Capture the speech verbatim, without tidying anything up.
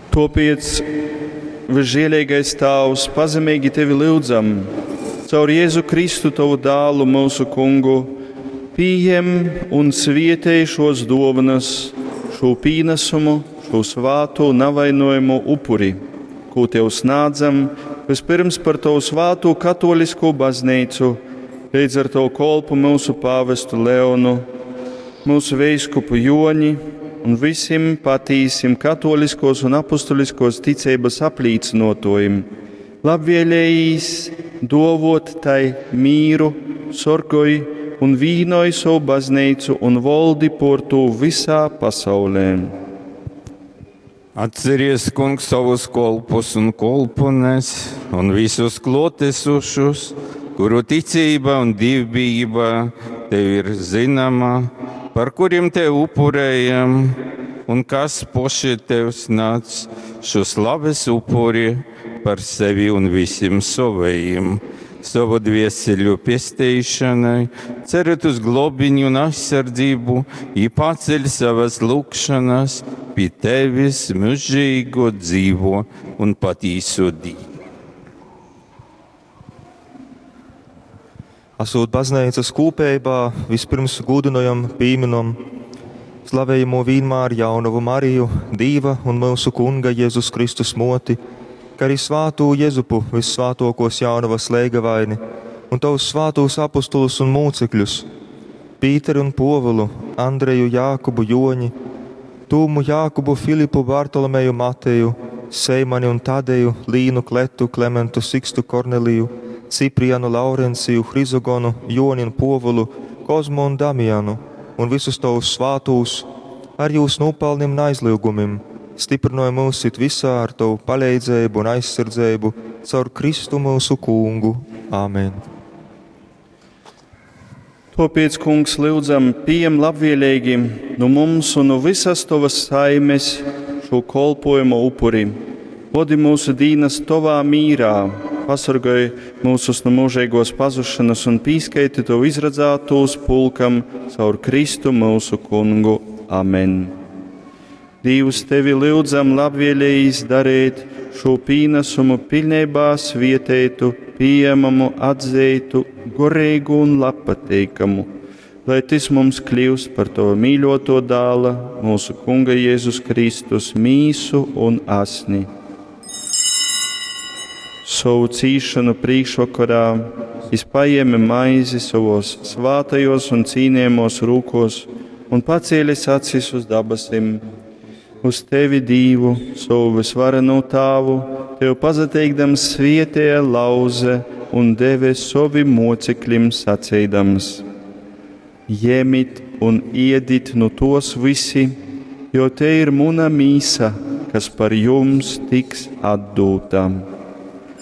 Tōpēc, visžielīgais Tāvs, pazemīgi Tevi lyudzam, caur Jēzu Kristu, Tovu dālu, mūsu kungu, pījem un svietej šos dōvanas, šo pīnesumu, šo svātu navainojumu upuri, kū Tev snādzam, vispirms par Tavu svātū katolisko baznīcu, līdz ar Tavu kolpu mūsu pāvestu Leonu, mūsu veiskupu Joni un visiem patīsim katoliskos un apustuliskos ticības aplīcinotojim. Labvēlējīs dovot tai mīru, sorgoj un vīnoj savu baznīcu un voldi por tū visā pasaulē. Atceries, kungs, savus kolpus un kolpunes un visus klotesušus, kuru ticība un dievbijība tev ir zināma, par kuriem tev upurējam, un kas poši tev snāc šo slaves upuri par sevi un visiem savējiem. Savu dvieseļu pestīšanai, cerot uz globiņu un aizsardzību, i paceļ savas lūgšanas pie tevis mūžīgo dzīvo un patīso Dievu. Esot baznīcas kūpējā, vispirms gūdinojam, pīminam slavējamo vienmēr jaunavu Mariju, Dīva un mūsu Kunga Jēzus Kristus moti, kā arī svātū Jezupu, vissvātokos jaunavas leigavaini, un tavus svātūs apustulus un mūcekļus, Pīteri un Povulu, Andreju, Jākubu, Joņi, Tūmu, Jākubu, Filipu, Bartolomeju, Mateju, Seimani un Tadeju, Līnu, Kletu, Klementu, Sikstu, Korneliju, Ciprianu, Laurenciju, Hrizogonu, Joni un Povulu, Kozmu un Damianu, un visus tavus svātūs, ar jūs nopelniem un aizliegumiem, stiprināja mūs it visā ar tavu palīdzību un aizsardzību caur Kristu mūsu kungu. Āmen. Tāpēc, kungs, lūdzam, pieņem labvēlīgi no mums un no visas tavas saimes šo kolpojumu upuri. Vodi mūsu dīnas tovā mīrā, pasargāj mūsus no mūžīgos pazušanas un pīskaiti to izradzētos pulkam caur Kristu mūsu kungu. Amen. Dievs tevi lūdzam labvēlījis darīt šo pīnesumu pilnībā svietētu, pieejamamu, atzītu, gorīgu un labpatīkamu, lai tas mums kļūst par to mīļoto dāla, mūsu Kunga Jēzus Kristus mīsu un asni. Savu cīšanu priekšvakarā jis paēma maizi savos svātajos un cīnījamos rūkos un pacēlis acis uz dabasim. Uz tevi, Dievu, savu visvareno tāvu, tev pazateikdams svietēja lauze un deve savim mocekļim sacīdams: Ņemit un iedit no tos visi, jo te ir muna mīsa, kas par jums tiks atdūta.